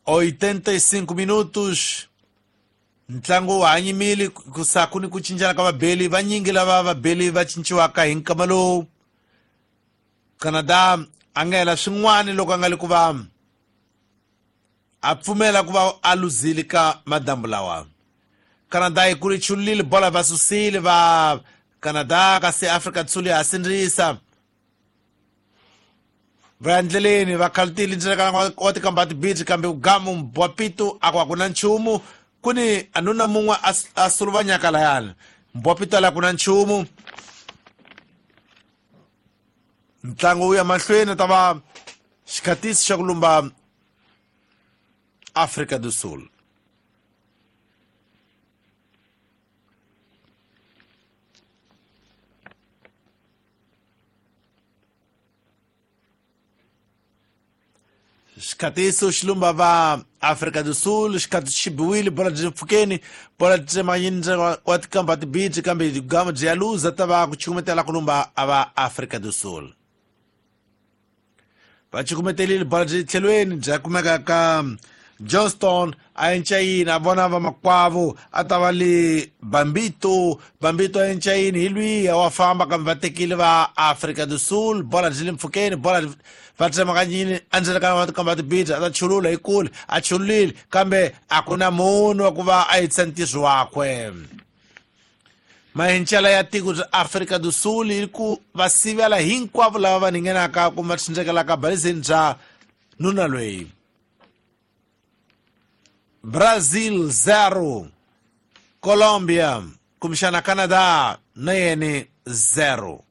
85 minutos ntlangu wa ha nyimile ku sa ku ni ku cincana ka vabeli vanyingi lava vabeli va cinciwaka hi nkama lowu. Canada a nga hela swin'wana loko a nga le ku va a pfumela ku va a luzile ka madambu lawa. Canada yi kuli chulile bola va susile va Canada, kasi Afrika do Sul ya ha sindzisa va ya ndleleni va khalutile ndzilekana wa tikamba tibiji, kambe gamu mbwapito a ku a ku na nchumu. Ku ni anuna mun'we a suluvanyaka layani mbwapito ala ku na nchumu. Ntlangu wu ya mahlweni, ta va xikhatisi xa ku lumba Afrika do Sul. Xikhatiso xi lumba va Afrika do Sul, xikhatiso xi biwile, bola byi pfukeni, bola tsemanyini wa tikamba tibiji, kambe gama byi ya luza, ta va ku chukumetela ku lumba a va Afrika do Sul. Va chukumetelile bola byi tlhelweni bya kumeka ka Johnston, a encayini a vona vamakwavo, a ta va le Bambito, Bambito a encayini hi lwiya wa famba, kambe va tekile va Afrika do Sul, bola byi le mpfhukeni, bola va tsemakanyini endzeni ka tikamba tibiji, a ta chulula hi kule, a chululile, kambe a ku na munhu wa ku va a yetisa ntirho wakwe. Mahincela ya tiko bya Afrika do Sul yi ku va sivela hinkwavo lava va ningenaka kumbe va tsundzekelaka balizeni bya nuna loyi. Brazil 0, Colombia kumbexana Canada na yene 0.